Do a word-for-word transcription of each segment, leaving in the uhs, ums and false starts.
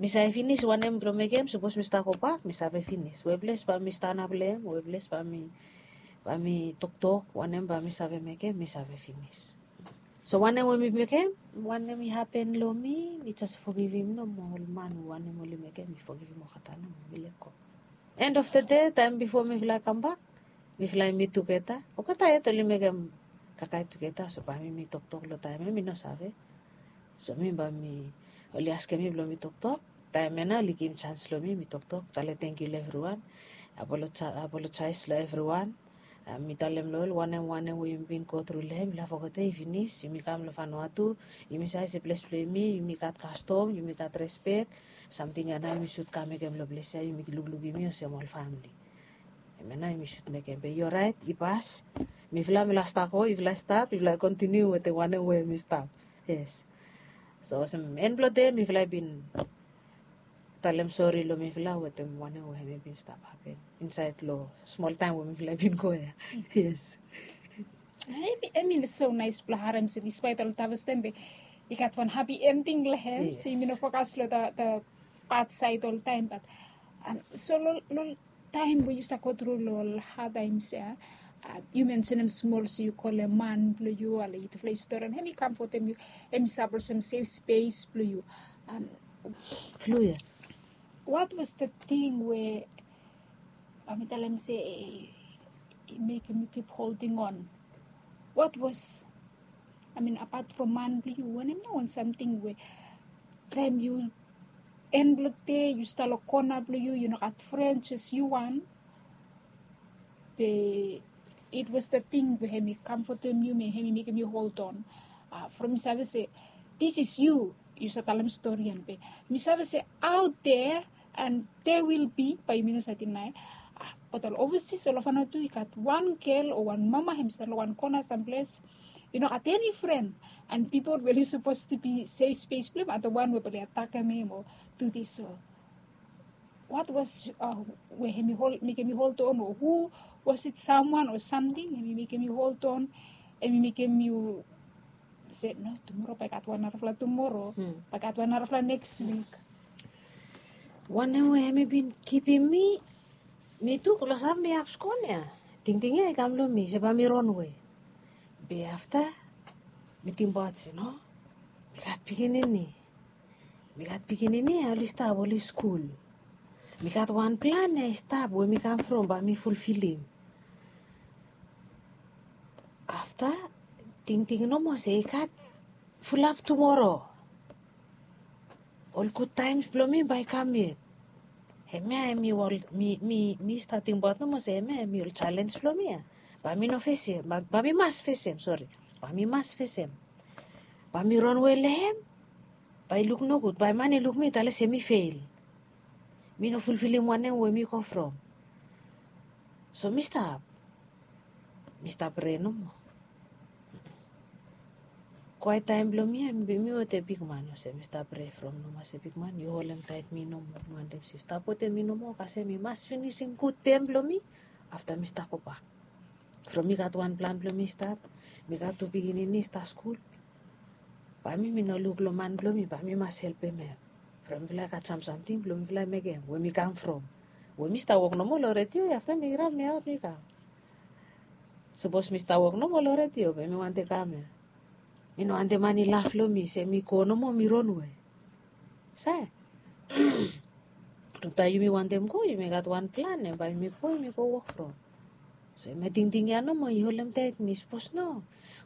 mi save finis wanem blong mekem, sapos mi stap gobak mi save finis we ples bae mi stanap long hem, we ples bae mi bae mi toktok, wanem bae mi save mekem mi save finis. So wanem we mi mekem, wanem i hapen long mi, mi jes fogivim nomo ol man, wanem oli mekem mi fogivim olgeta nomo, mi lego. End of the day, taem bifo mifala i kambak, mifala i mit tugeta. Olgeta yet oli mekem kakae tugeta, so bae mi mi toktok long taem ya mi no save. So mi bae mi, oli askem mi blong mi toktok. Taem ya nao oli givim jans long mi mi toktok, tale tangkiu long evriwan, apolojaes long evriwan. Mi talem long ol wanem wanem we yumi bin gotru long hem, yufala fogetem i finis. Yumi kam long Vanuatu, yumi save se ples blong yumi, yumi gat kastom, yumi gat respek. Samting ya nao yumi sud kam mekem long ples ya, yumi lukluk yumi olsem ol famili. Hemia nao yumi sud mekem, be i oraet, i pas. Mifala mifala stap go, mifala stap, mifala kontiniu wetem wanem we mi stap. Yes. So olsem en blong dei mifala i bin talem sori long mifala wetem wanem we hemi bin stap hapen insaed long smol taem we mifala i bin go ya. Yes. Hemi hemi so naes blong harem se dispaet ol tafes taem be i gat wan hapi ending long hem, se yumi no fokas long da da bad saed oltaem. Bat so long long taem we yu stap gotru long ol had taems ya, yu mensenem smol se yu kolem man blong yu, ale yutufala i stori, hemi kamfotem yu, hemi stap olsem sef spes blong yu. Flu ya. Wat was the thing we bae mi talem se i mekem yu kip holding on? Wat was, I mean, apat from man blong yu, wanem nao wan samting we taem yu en blong dei yu stap long kona blong yu, yu no gat fren, jes yu wan. Be it was the thing we hemi kamfotem yu, hemi mekem yu hold on. From mi save se this is you, yu save talem stori ya be mi save se out there and there will be, bae yumi no save dinae. Bat ol overseas ol Vanuatu i gat wan gel o wan mama hemi stap long wan kona samples, i no gat eni fren, and pipol we oli sapos tu bi sef spes blong hem ata wan we bae oli atakem hem o du this. So what was we hemi mekem yu hold on, o who was it, someone o samting hemi mekem yu hold on, hemi mekem yu se no, tumoro bae i gat wan narafala tumoro, bae i gat wan narafala neks wik? Wanem we hemi bin kipim mi, mi tu klosap mi hap skon ya. Tingting ya i kam long mi se bae mi ronwe. Be afta mi tingbaot se no, mi gat pikinini. Mi gat pikinini ya oli stap oli skul. Mi gat wan plan ya i stap we mi kam from bae mi fulfilim. Afta tingting nomo se i gat fulap tumoro. Ol gud taems blong mi bae i kam yet. Hemia hemi ol mi mi mi stap tingbaot nomo se hemia hemi ol jalenj blong mi ya. Bae mi no fesem, bae mi mas fesem, sori. Bae mi mas fesem. Bae mi ronwe long hem. Bae i luk nogud, bae man i luk mi tale se mi fel. Mi no fulfilim wanem we mi go from. So mi stap mi stap prea nomo. Kwaet taem blong mi ya mi wetem bigman olsem mi stap prea from nomo se bigman yu holem taet mi nomo, mi wantem se yu stap wetem mi nomo kasem mi mas finisim gud tem blong mi. Afta mi stap gobak. From mi gat wan plan blong mi stap, mi gat tu pikinini i stap skul. Bae mi mi no luk long man blong mi, bae mi mas helpem hem. From mifala i gat sam samting blong mifala i mekem we mi kam from. We mi stap wok nomo long redio ya afta mi kirap mi aot mi kam. Sapos mi stap wok nomo long redio be mi wantem kam ya. Mi no wantem man i laf long mi se mi go nomo mi ronwe. Sae. Long taem yumi wantem go yumi gat wan plan ya bae yumi go yumi go wok from. So hemia tingting ya nomo i holem taet mi, sapos no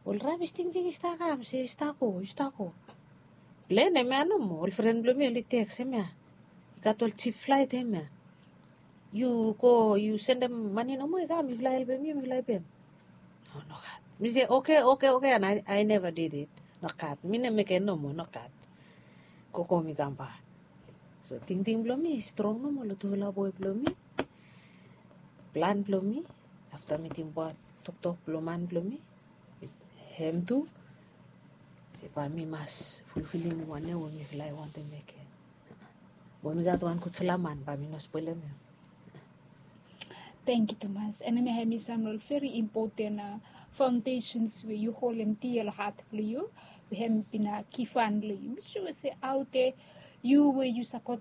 ol rabis tingting i stap kam se yu stap go, yu stap go. Plen hemia nomo ol fren blong mi oli teks hemia. I gat ol jip flaet hemia. Yu go yu sendem mane nomo i kam mifala i helpem yu mifala i pem. No, nogat. Mi se oke oke oke and I never did it. Nogat. Mi no mekem nomo, nogat. Gogo mi kambak. So tingting blong mi i strong nomo long tufala boe blong mi. Plan blong mi afta mi tingbaot toktok blong man blong mi, hem tu se bae mi mas fulfilim wanem we mifala i wantem mekem. Bae mi gat wan gudfala man bae mi no spolem hem. Tangkiu tumas. And hemia hemi sam long ol veri impoten faondesens we yu holem dia long hat blong yu, we hem bin givhan long yu. Mi sua se aote yu we yu save go